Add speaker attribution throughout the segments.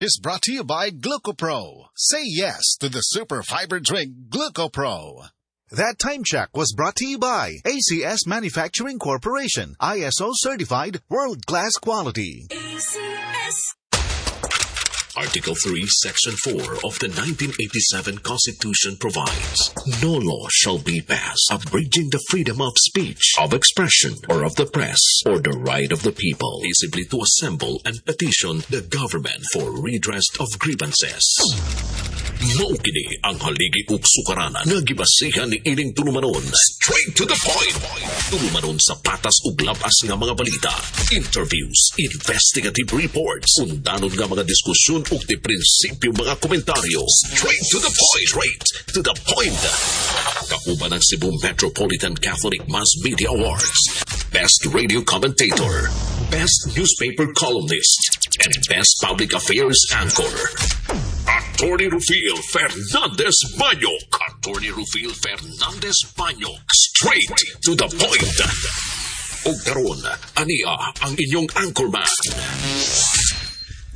Speaker 1: Is brought to you by GlucoPro. Say yes to the super fiber drink GlucoPro. That time check was brought to you by ACS Manufacturing Corporation, ISO certified, world-class quality.
Speaker 2: ACS.
Speaker 3: Article 3, Section 4 of the 1987 Constitution provides, "No law shall be passed abridging the freedom of speech, of expression, or of the press, or the right of the people peaceably to assemble and petition the government for redress of grievances." Mao kini ang haligi ug sukaranan nga gibasihan ni ining tulumanon. Straight to the point. Tulumanon sa patas ug labas nga mga balita, interviews, investigative reports, undanon nga mga diskusyon ug di prinsipyo mga komentaryo. Straight to the point. Straight to the point. Kauban ang Cebu Metropolitan Catholic Mass Media Awards, Best Radio Commentator, Best Newspaper Columnist, and Best Public Affairs Anchor. Attorney Rufil Fernandez Banyok. Attorney Rufil Fernandez Banyok. Straight to the point. Ug karon, ania ang inyong anchorman.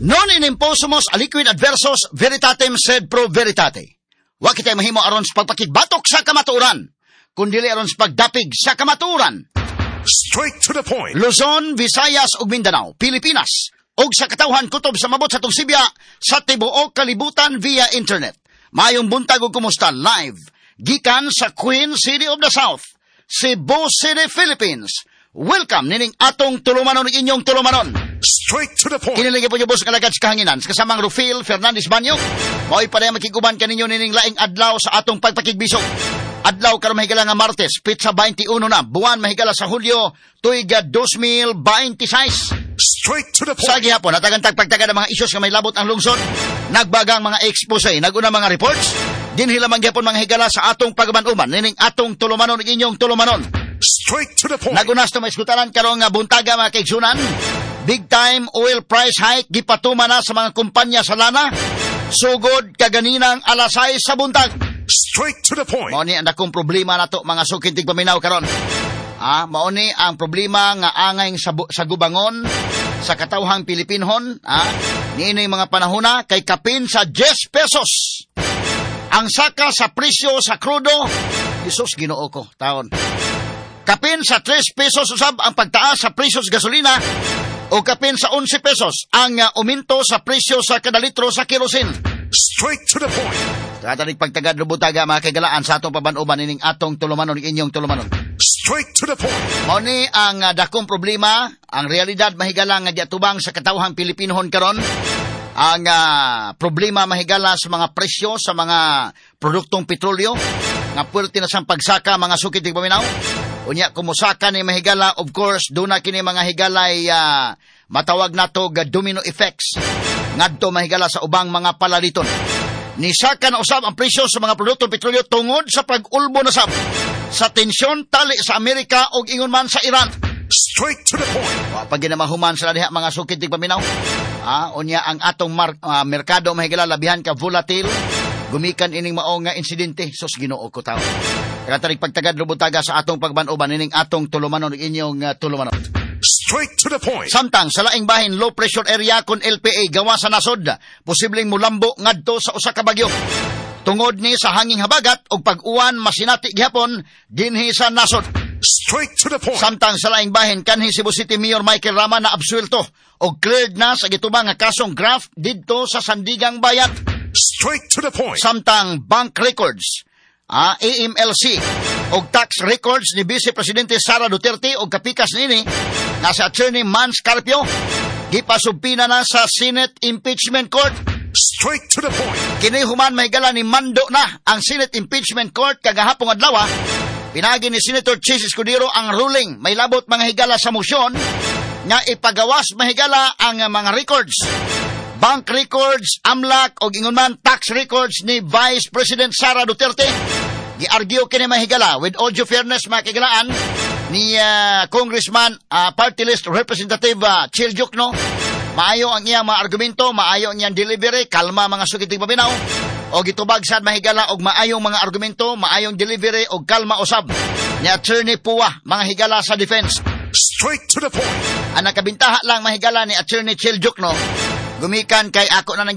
Speaker 4: Non in imposumus aliquid adversus veritatem sed pro veritate. Wa kitay mahimo aron sa pagpakigbatok sa kamatuoran, kundili aron sa pagdapig sa kamatuoran.
Speaker 1: Straight to the point.
Speaker 4: Luzon, Visayas ug Mindanao, Pilipinas, ug sa katawhan kutob sa mabot sa tungsibya sa tibuok kalibutan via internet. Maayong buntag ug kumusta live gikan sa Queen City of the South, Cebu City, Philippines. Welcome nining atong tulumanon ug inyong tulumanon.
Speaker 1: Straight to the point.
Speaker 4: Kini lagi po yung boss kalagad sa kahanginan. Sa kasamang Rufil Fernandez Banyo. Mao'y pareha makiguban kaninyo nining laing adlaw sa atong pagpakigbisog. Adlaw karon, mahigala nga Martes, petsa 21 na, buwan mahigala sa Hulyo, tuig 2026.
Speaker 1: Straight to the point.
Speaker 4: Sa gihapon, natagan tagpagtaga ng mga isyos nga may labot ang lungsod, nagbagang mga expose, naguna mga reports, dinhi lamang gihapon, mga higala, sa atong pagaman-uman, nining atong tulumanon ug inyong tulumanon.
Speaker 1: Straight to the point.
Speaker 4: Nagunas na maiskutaran karong nga buntaga, mga kaigsunan. Big time oil price hike gipatuma na sa mga kumpanya sa lana. Sugod kaganinang alas 6 sa buntag.
Speaker 1: Straight to the point.
Speaker 4: Mao ni ang dakong problema nato, mga suking tigpaminaw, karon. Ah, mao ni ang problema nga angay sa gubangon sa katawhang Pilipinhon, niini mga panahona kay kapin sa 10 pesos ang saka sa presyo sa krudo. Jesus, Ginoo ko, taon. Kapin sa 3 pesos usab ang pagtaas sa presyo sa gasolina o kapin sa 11 pesos ang uminto sa presyo sa kada litro sa kerosene.
Speaker 1: Straight to the point.
Speaker 4: Tatanig pagtagad lubutaga, mga kagalaan, sa atong paban-uban ining atong tulumanon, inyong tulumanon.
Speaker 1: Straight to the point.
Speaker 4: Mao ni ang dakong problema, ang realidad, mahigala, nga giatubang sa katawhang Pilipinohon karon. Ang problema, mahigala, sa mga presyo sa mga produktong petrolyo nga puwerte na sang pagsaka, mga suki tigpaminaw. Unya kumusaka ni, mahigala, of course duna kini, mga higalay, matawag nato ga domino effects ngadto, mahigala, sa ubang mga palaliton. Nisaka na usab ang presyo sa mga produktong petrolyo tungod sa pag-ulbo na sab sa tensyon tali sa Amerika ug ingon man sa Iran.
Speaker 1: Straight to the point.
Speaker 4: Wa pa ginamahuman sila diha, mga sukid tigpaminaw. Unya ang atong merkado, mahigala, labihan ka volatile gumikan ining mao nga insidente. Sus, Ginoo ko, tawo. Katarik pagtagad lubutaga sa atong pagban-uban ining atong tulumanon ug inyong tulumanon.
Speaker 1: Straight to the point.
Speaker 4: Samtang sa laing bahin, low pressure area kon LPA gawa sa nasod, posibleng mulambo ngadto sa usa ka bagyo. Tungod ni sa hanging habagat ug pag-uwan masinati gihapon dinhi sa nasod.
Speaker 1: Straight to the point.
Speaker 4: Samtang sa laing bahin, kanhi Cebu City Mayor Michael Rama na absuelto og cleared na sa gitubang nga kasong graft didto sa Sandigang Bayan.
Speaker 1: Straight to the point.
Speaker 4: Samtang bank records, AMLC og tax records ni Vice Presidente Sara Duterte og kapikas nini nga sa Attorney Mans Carpio gipasubpoena na sa Senate Impeachment Court.
Speaker 1: Straight to the point.
Speaker 4: Kini human, mahigala, ni mando na ang Senate Impeachment Court kagahapong adlaw. Pinagi ni Senator Chiz Escudero ang ruling may labot, mga higala, sa motion nga ipagawas, mahigala, ang mga records. Bank records, AMLC og ingon man tax records ni Vice President Sara Duterte. Giargue kini, mahigala, with all due fairness, mga kagalaan, ni Congressman Party List Representative Chel Diokno. Maayo ang iyang mga argumento, maayo ang iyang delivery, kalma, mga suki tigpaminaw. O gitubag sad, mahigala, og maayong mga argumento, maayong delivery og kalma usab ni Attorney Pua, mga higala, sa defense.
Speaker 1: Straight to the point.
Speaker 4: Ang nakabintaha lang, mahigala, ni Attorney Chel Diokno, gumikan kay ako na nang